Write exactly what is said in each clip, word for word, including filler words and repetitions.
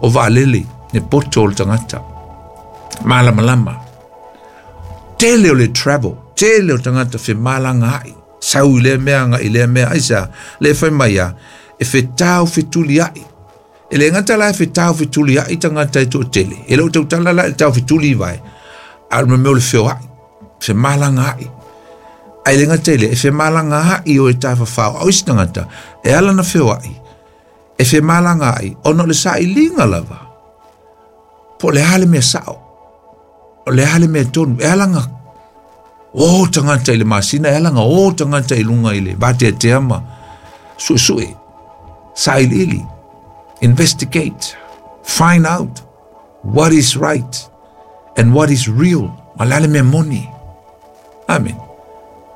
O vaalele le poto o le tagata malamalama tele o le travel tele o tagata femalagaai sau i lea mea agai i lea mea aisea lea e fai mai a e fetau fetuliai e le gata la e fetau fetuliai tagata e toatele e le o tautala la i le tau fetuli vai a o le mea o le feoai femalagaai ae le gata i lea e femalagaai o e tafafao a o isi tagata e ala na feoai e femalagaai ona o le sailiga lava po o le a le mea sao o le a le mea tonu e ala na o tagata i le masina e ala na o tagata i luga i le vateatea ma suesue sailiili investigate find out what is right and what is real ma le a le mea moni amen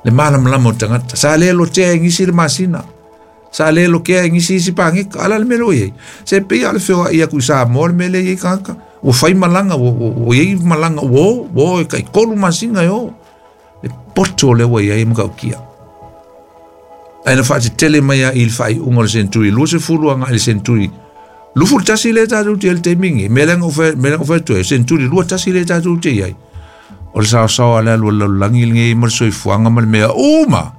le malamalama o tagata sa le lotea e gisi le masina sa le lokea e gisi isi pageka ala le mea lea ua i ai se pei a o le feoai aku i Samoa le mea lea i ai tagata ua fai malaga ua ua i ai malaga ua o ua o e taitolu masina e o le poto lea ua i ai matautia ae na faatetele mai a i le faaiuga o le senturi luasefulu agai le senturi lufulu tasi lea tatou te i ai i le taimi lenei mea lea na ou fai mea lea na ou fai atu ai senturi lua tasi lea tatou te i ai o le saosaoa le alu a le lalolagi lenei ma le soifuaga ma le mea uma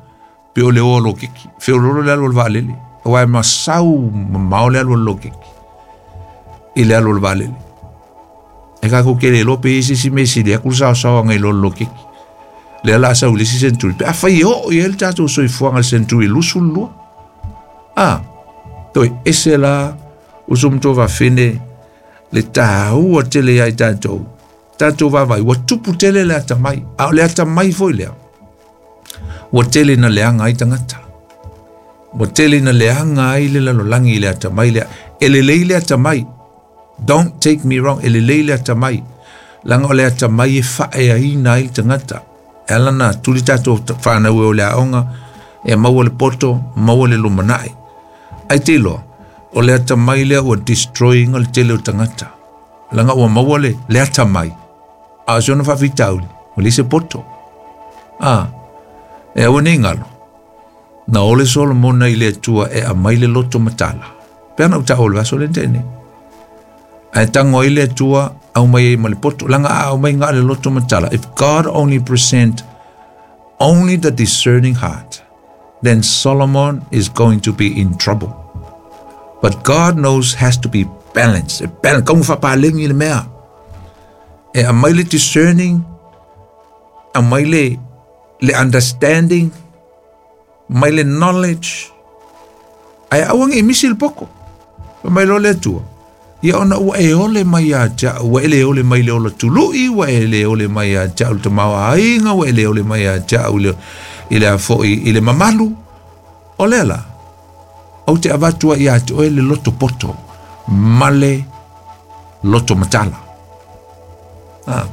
pe o le o a lokiki feololo le alu a le vaalele aua e masau mamao le alu a le lokiki i le alu a le vaalele e tatou te le iloa pe i ai se isi mea e sili atu le saosaoaga i lo le lokiki lea la sau i le isi senturi pe afai e oo i ai le tatou soifuaga i le senturi lusulu lua a toe ese la uso ma tovafine le taua tele ia i tatou tatou vaavaai ua tupu tele le atamai a o le atamai foi lea ua tele na leaga ai tagata ua tele na leaga ai le lalolagi i le atamai lea e lelei le atamai don't take me wrong e lelei le atamai laga o le atamai e faaeaina ai le tagata e ala na tuli tatou fanau e o le aoga e maua le poto maua le lumanai ai te iloa o le atamai lea ua destroy-ina le tele o tagata laga ua maua le le atamai a o si ona faafitauli ua leai se poto a e aua nei galo na ole Solomona i le Atua e aumai le loto matala pe ana ou taua o le vaiaso lea na tea nei ae tago ai le Atua aumai ai ma le poto laga a aumai na o le loto matala if God only present only the discerning heart then Solomon is going to be in trouble but God knows has to be balanced e balance kau faapalegi le mea e aumai le discerning aumai le le understanding mai le knowledge ae aua nei misi le poko fai mai loa le Atua ia ona ua e ole mai ia te au ua e le ole mai le ola tului ua e le ole mai ia te au le tamaoaiga ua e le ole mai ia te au i le i le a foi i le mamalu o lea la ou te avatu ai ia te oe le loto poto ma le loto matala a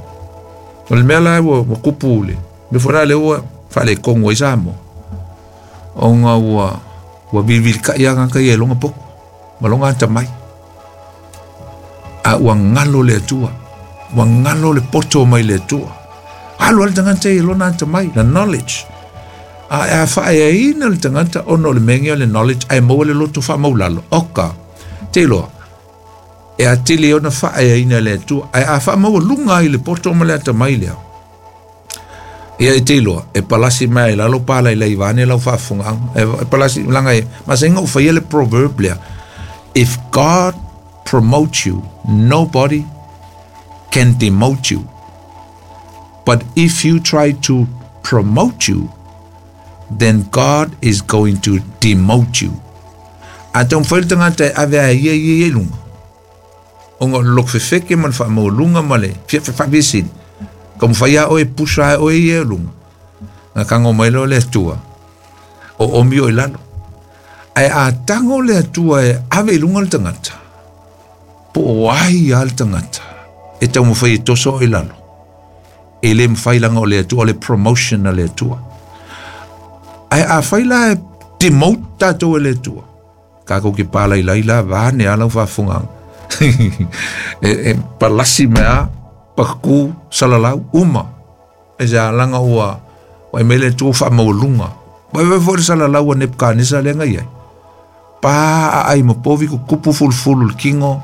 o le mea la ua ua kupu le mea foi la lea ua faaletonu ai Samoa ona ua ua vilivilikai lava tagata ia i lona poto ma lona atamai a ua galo le Atua ua galo le poto mai le Atua alu lava le tagata ia i lona atamai the knowledge a a faaeaina le tagata ona o le mea lenei o le knowledge ae maua le loto faamaulalo oka te iloa e atili ai ona faaeaina e le Atua ae a faamaualuga ai le poto ma le atamai lea ia e te iloa e palasi mai ai lalo palailai vaeane lau faafofogaaga e palasi laga e masani ona ou faia le proverb lea if God promotes you nobody can demote you but if you try to promote you then God is going to demote you a taumafai le tagata e ave a ia ia i luga ona o le loto fefeke ma le faamaualuga ma le faapiasili taumafai lava oe e pusa ae oe ia i luga na tago mai loa le Atua o omi o i lalo ae a tago le Atua e ave i luga le tagata po o ai lava le tagata e taumafai e toso o i lalo e le mafai laga o le Atua o le promotion a le Atua ae afai la e demote tatou e le Atua tatou te palailai la vaeane a lau faafofogaaga e, e palasi mai a pakuku salalau uma e se alaga ua ua mai le Atua faamaualuga vaivai foi le salalau a Nebukanesa lea na i ai pa aai ma povi kukupu fulufulu le tino